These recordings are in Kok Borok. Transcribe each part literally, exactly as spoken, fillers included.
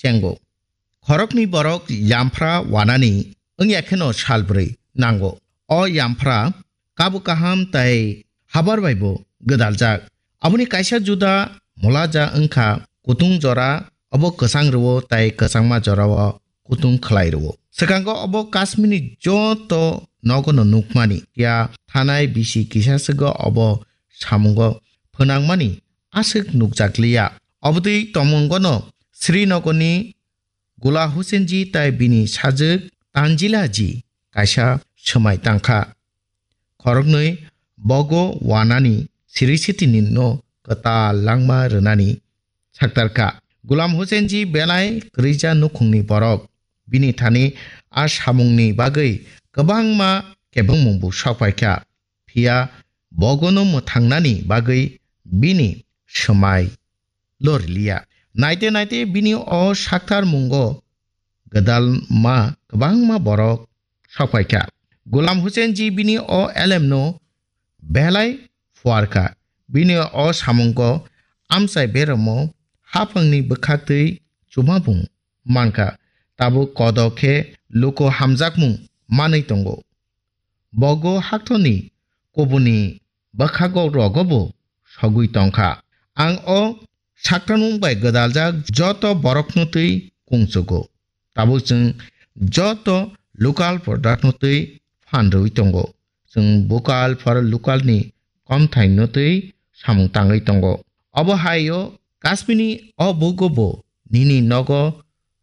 tengo. Khoroknwi borok yamphra wanani wngya kheno salbrwi nango. O yamphra kabu kaham tai habar bai bo gwdaljak. Aboni kaisa juda mulaja wngkha kutung jora, obo kwchang rwo tai kwchangma jorao kutung khlai rwo. Swkango obo Kashmirni joto nogono nukmani ya thanai bisi kisa swgo obo samungo phwnangmani aswk nukjakliya. Obotwi tongmungono Srinagarni Gula Husenji tai bini sajwk Tanjilaji kaisa swmai tangkha. Khoroknwi bogo wanani siri sitini no kwtal langma rwnani saktarkha. Gulam Husenji belai kwrwija nukhungni borok. Bini thani a samungni bagwi kwbangma kebengmungbo sokphaikha. Phiya bogono mwthangnani bagwi bini swmai loriliya. Naite naite bini o saktar mungo gwdalma kwbangma borok sokphaikha. Gulam Husenji bini o elemno belai phuarkha. Bini o samungo amchai beramo haphangni bwkhaktwi chumabung mankha. Tabuk kodo khe luku hamjakmung manwi tongo. Bogo haktorni kubuni bwkhago rogobo sogwi tongkha. Ang o saktarmung bai gwdaljak joto borokno twi kungchugo. Tabuk chwng joto local product no twi phan rwwi tongo. Chwng vocal for local ni komthai no twi samung tangwi tongo. Obo hai o Kashmirni o bugo bo nini nogo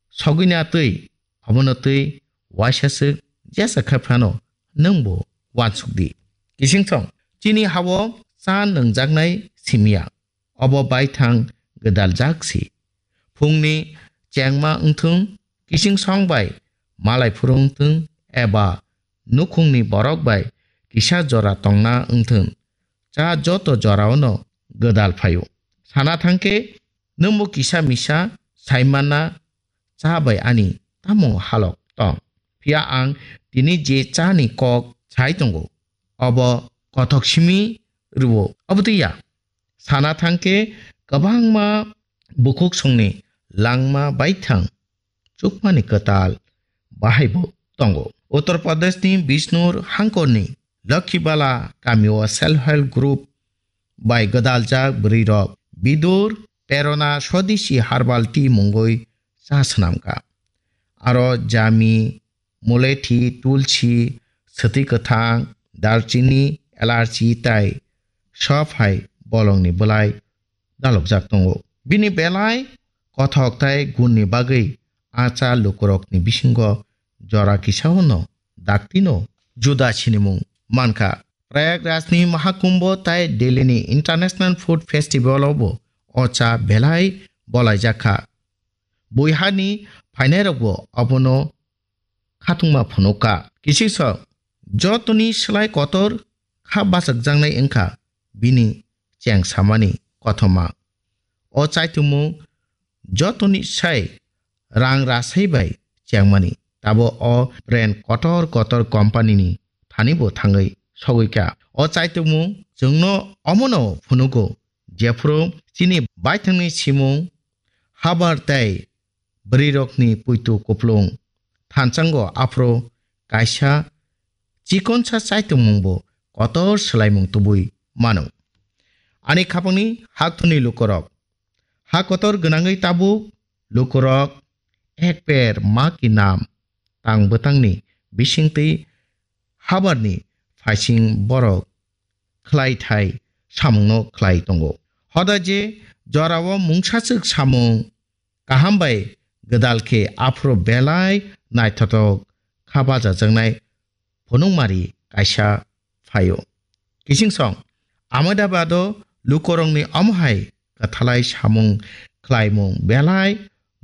sogwina twi obono twi waisa swk jesa khe phano nwng bo uansuk di. Kising song chini hao cha nwngjaknai simiya. Obo baithang gwdaljak si. Phungni chengma wngthung, kising song bai malai phuru wngthung, eba nukhungni borok bai kisa jora tongna wngthung, cha joto joraono gwdal phaio. Sana thangkhe, nwngbo kisa misa saimanna cha bai ani tamo halok tong. Phiya ang tini je chani kok sai tongo, obo kothok simi rwo, obo twi ya. Sana thangkhe kwbangma bukhuk songni langma baithang chukmani kwtal bahaibo tongo. Uttar Pradeshni Bishnur hangkorni Lakhibala kamio self help group bai gwdaljak bwrwirok Bidur Prerona Swadeshi Herbal Tea mungwi cha swnamkha. Aro jami, mulethi, tulsi, swtwi kwthang, darchini, elarchi tai sob hai bolongni bwlai dalokjak tongo. Bini belai kothok tai gunni bagwi a cha lukurokni bisingo jora kisao no daktino juda sinimung mankha. Prayagrajni Mahakumbho tai Delhini International Food Festival o bo o cha belai bolaijak kha. Buihani phainairokbo obono khatungma phunukha. Kisingso jotoni slai kotor kha bachakjaknai wngkha bini cheng samani kothoma. O chaitumung jotoni sai rang rasai bai chengmani. Tabo o brand kotor kotor company ni thani bo thangwi sogwi kha. O chaitumung chwngno omono phunugo, jephuru chini baithangni simung habar tei bwrwirokni puitu kuplung thansango aphuru kaisa chikonsa chaitumungbo kotor swlaimung tubui mano. Ani khapangni haktorni lukurok, ha kotor gwnangwi tabuk lukurok ek per ma ki nam tang bwtangni bisingtwi habarni phaising borok khlai thai samungno khlai tongo. Hoda je jorao mungsachwk samung kaham bai gwdal khe aphuru belai naithothok kha bachajaknai phunukmari kaisa phaio. Kising song Ahmedabado lukurokni omo hai kwthalai samung khlaimung belai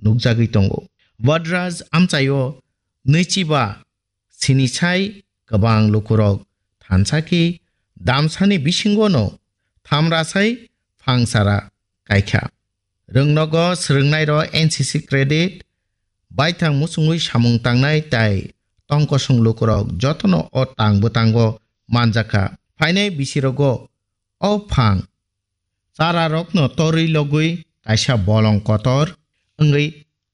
nukjagwi tongo. Vadraj amchaio nwichiba sinisai kwbang lukurok thansa khe damsani bisingono thamrasai phangsara kaikha. Rwngnogo swrwngnairo N C C credit, baithang muchungwi samung tangnai tai tongkosong lukurok jotono o tang bwtango manjakha. Phainai bisirogo o phang chararokno torwi logwi kaisa bolong kotor wngwi